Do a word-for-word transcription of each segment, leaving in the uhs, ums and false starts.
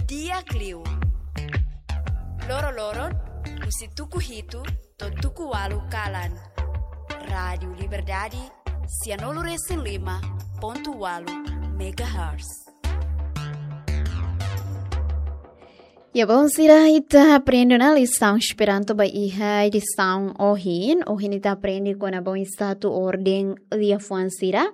Di'ak liu. Loroloron, husi tuku hitu to'o tuku ualu kalan. Rádiu Liberdade, sianulu-resin-lima pontu ualu megahertz. Ya, bom, sira, ita aprende ona lisaun Esperanto ba iha edisaun ohin. Ohin ita aprende kona-ba oinsá atu orden liafuan sira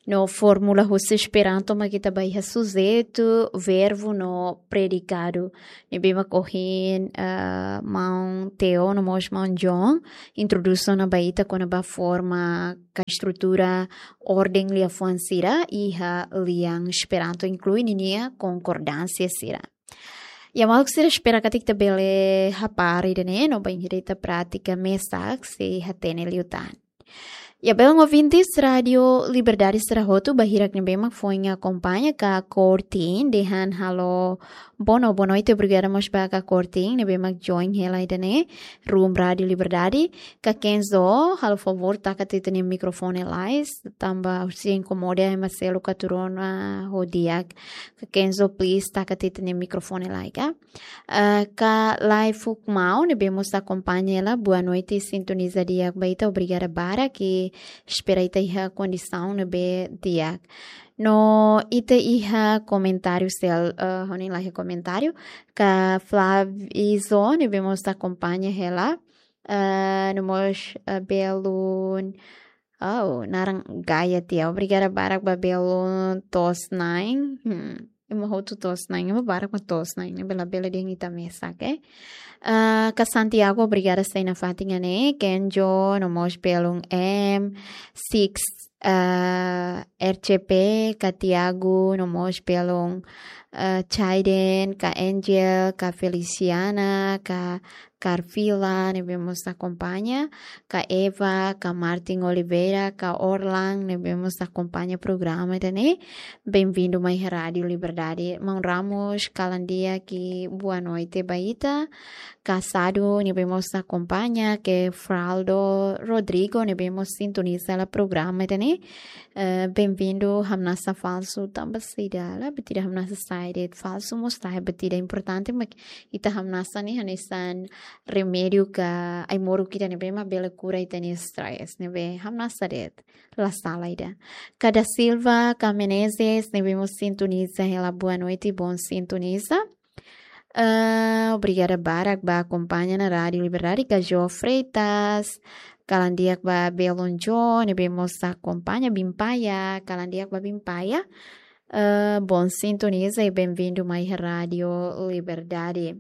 no fórmula husi Esperanto mak ita ba iha sujeitu, verbu no predikadu. Ne'ebé mak ohin, ah, maun Theo no mós maun John introdús ona ba ita kona-ba forma ka estrutura orden liafuan sira iha lian Esperanto, inklui ninia konkordánsia sira. Ya, maluk sira, espera katak ita bele hapara ida-ne'e no bainhira ita pratika mesak sei hatene liután. Ya, belun ouvintes Rádiu Liberdade sira hotu, ba hirak ne'ebé mak foin akompaña ka kortin, dehan halo boa no boa noite, obrigada mós ba ka kortin ne'ebé mak join hela ida-ne'e, room Rádiu Liberdade. Ka Kenzo, halo favór taka tiha ita-nia mikrofone lai, tanba husik inkomoda ema seluk atu rona ho di'ak. Ka Kenzo, please, taka tiha ita-nia mikrofone lai, ka? Ah, ka Lai Fukmau, ne'ebé mós akompaña hela, boa noite, sintoniza di'ak ba ita, obrigada barak, i espera ita iha kondisaun ne'ebé di'ak. No ita iha komentáriu sel, ah, ha'u-nia laiha komentáriu, ka Flavizo, ne'ebé mós akompaña hela, ah, no mós, ah, belun, oh, naran gaya tiha. Obrigada barak ba belun to'os-na'in. Hmm. Ema hotu to'os-na'in, ema barak mak to'os-na'in, ne'ebé labele dehan ita mesak, eh. Ah, ka Santiago, obrigada sei nafatin ne'e, Kenjo, no mós belun M six, ah, R C P, ka Tiago, no mós belun, ah, Chaiden, ka Angel, ka Feliciana, ka Carfila, ne'ebé mós akompaña, ka Eva, ka Martin Oliveira, ka Orlan, ne'ebé mós akompaña programa ida-ne'e. Bem-vindo mai Rádiu Liberdade. Maun Ramos, kalan di'ak i boa noite ba ita. Ka Sadu, ne'ebé mós akompaña, ka Fraldo, Rodrigo, ne'ebé mós sintoniza hela programa ida-ne'e. Eh, bem-vindo, hamnasa falsu, tanba saida, la buat ida hamnasa sai de'it, falsu mós la buat ida, importante mak ita hamnasa ne'e hanesan remédiu ka ai-moruk ida ne'ebé mak bele kura ita-nia stress, ne'ebé hamnasa de'it, la sala ida. Ka da Silva, ka Menezes, ne'ebé mós sintoniza hela, boa noite, bom sintoniza. Ah, obrigada barak ba akompaña ona Rádiu Liberdade, ka Jo Freitas, kalan di'ak ba belun Jo, ne'ebé mós akompaña, Bimpaia, kalan di'ak ba Bimpaia. Ah, bom sintoniza i bem-vindo mai Rádiu Liberdade.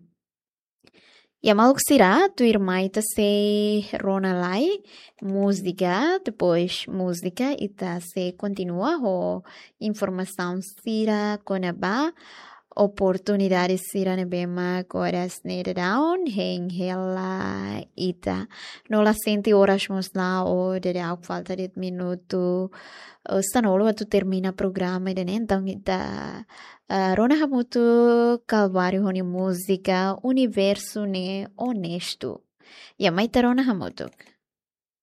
Ya, maluk sira, tuirmai ita sei rona lai múzika, depois múzika ita sei kontinua ho informasaun sira kona-ba oportunidade sira ne'ebé mak oras ne'e daudaun hein hela ita. No la sente oras mós la'o, daudaun falta de'it minutu, eh, sanulu atu termina programa ida-ne'e, entaun ita, eh, rona hamutuk Calvário ho nia múzika Universo ne'e Onesto. Ya, mai ita rona hamutuk.